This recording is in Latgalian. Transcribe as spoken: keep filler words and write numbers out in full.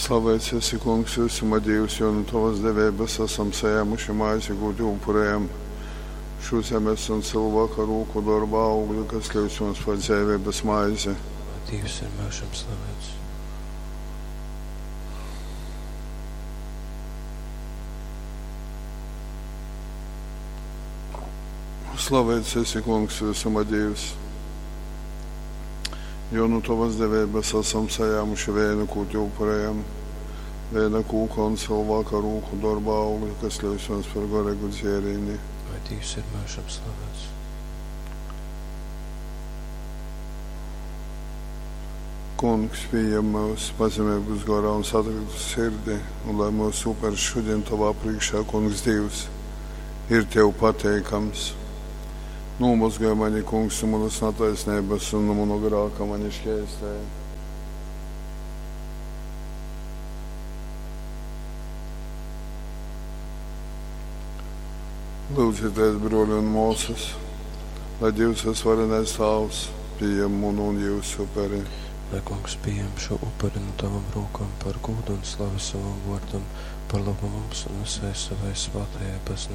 Slavēts esi, Kungs, visuma Dīvs, jo nu Tavas deveibas asam sajēmuši maizi, kū Tev upurējam. Šo zemes un cilvēka rūku dorba augli, kas kļūst mums par dzeiveibas maizi. Lai Dīvs ir myužam slavēts. Slavēts esi, Kungs, visuma Dīvs, jo nu Tavas deveibas asam sajēmuši vēnu, kū Tev upurējam. Vēna kūka un cilvēka rūku dorba augli, kas kļūst mums par garīgu dzērīni. Lai Dīvs ir myužam slavēts. Kungs, pieņem mūs pazemeibas gorā un satrauktu sirdi, un lai mūsu upers šodien Tavā priekšā, Kungs Dievs, ir Tev pateikams. Nomazgāj mani, Kungs, no manas netaisnības un no manu grāka mani šķēstē. Lūdzieties, broļi un māsas, lai Dievs visvarenais Tēvs pieņem manu un jūsu uperi. Lai Kungs pieņem šo upuri no Tavam rokām par gūdu un slavu savam vārdam, par labu mums un visai savai svētajai baznīcai.